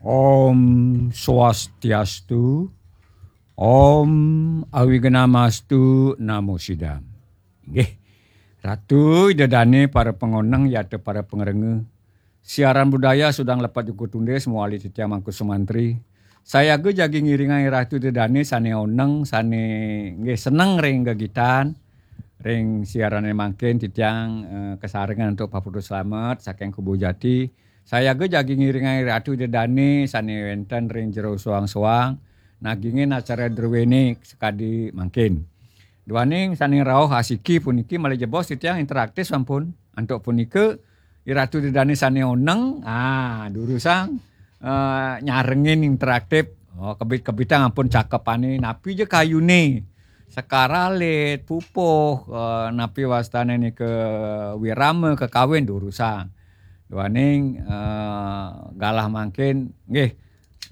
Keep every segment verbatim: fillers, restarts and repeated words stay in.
Om Swastiastu, Om Awignamastu Namo Sidam. Nggih. Ratu Ida Dane, para pangoneng, yata para pangrengga. Siaran budaya sudang lepat juga tundis, mawali titiang Mangku Sumantri. Sayaga jagi ngiringang Ratu Ida Dane sane oneng, sane nggih seneng ring gegitan, ring siarane mangkin titiang, eh, kasarengan antuk paputu slamet saking Kubu Jati. Sayaga jagi ngiringang Ratu Ida Dane sane wenten ring jero soang-soang, nagingin acara druene sakadi mangkin. Duaning sane rauh asiki puniki malih jebos titiang interaktif sampun. Antuk punika, Ratu Ida Dane sane oneng, ah, durusang, eh, nyarengin interaktif. Oh, kebit-kebitang ampun cakepane, napi ja kayune, sekar alit, pupuh, eh, napi wastane nika wirama kakawin durusang. Duaning, eh, galah mangkin, nggih,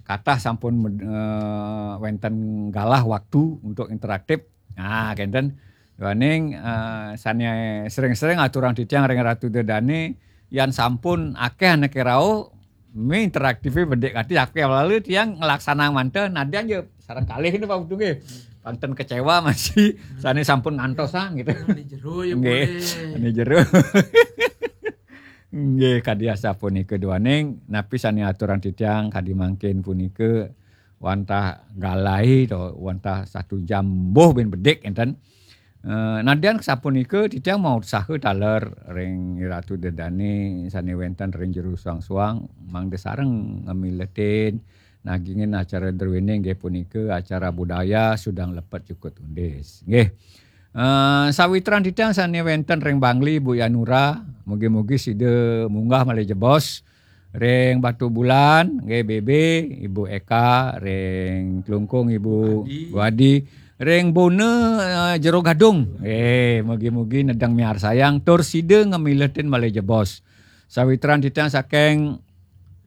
kathah sampun med-, eh, wenten galah waktu untuk interaktif. Nah, kenten. Duaning, eh, sane sering-sering aturang titiang ring Ratu Ida Dane, yan sampun akeh anake rauh, mi interaktife bedik ati, akeh lalu tiang nglaksanang manten, nadyan ya sareng kalih ini Pak Putu nggih. Panten kecewa masih sane sampun ngantosang gitu. Ane jero ya nggih, boleh. Ane jero. Nggih, kadi asapunika duaning, napi sane aturang titiang kadi mangkin punika wantah galai to, wantah satu jam mbuh ben bedik enten. Eh, nadyan sapunika titiang mau usaha taler ring Ratu Ida Dane sane wenten ring jero suang-suang mangda sareng ngamiletin nagingin acara druene inggih punika acara budaya sudang lepet jukut undis. Nggih. Eh, sawitran titiang sane wenten ring Bangli, Bu Yanura, mugi-mugi sida munggah malih jebos ring Batu Bulan, nggih, B B, Ibu Eka, ring Klungkung, Ibu Wadi. Wadi, ring Bona, eh, Jero Gadung. Nggih, mugi-mugi nedeng miarsayang tur sida ngamiletin malih jebos. Sawitran titiang saking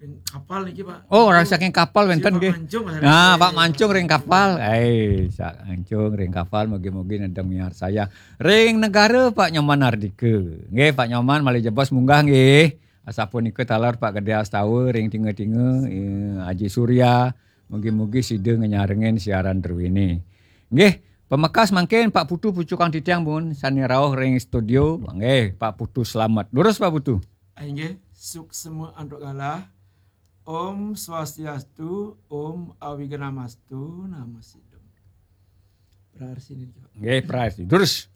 Ring kapal niki, Pak. Oh, orang saking kapal wenten nggih. Pak Mancung, nah, Pak Mancung ring kapal. Eh, Pak Mancung ring kapal, mugi-mugi nedeng miarsayang. Ring Negara, Pak Nyoman Ardika. Nggih, Pak Nyoman malih jebos munggah nggih. Asapunika taler Pak Gede Astawa ring Tinga-tinga, eh, Aji Surya, mugi-mugi sida ngenyarengin siaran druene. Nggih, pamekas mangkin Pak Putu pucukang titiang pun sane rauh ring studio. Nggih, Pak Putu slamet. Durus Pak Putu. Inggih, suksma antuk galah. Om Swastiastu, Om Awignamastu Namo Sidam. Prarsi niki, Pak. Nggih, prarsi. Durus.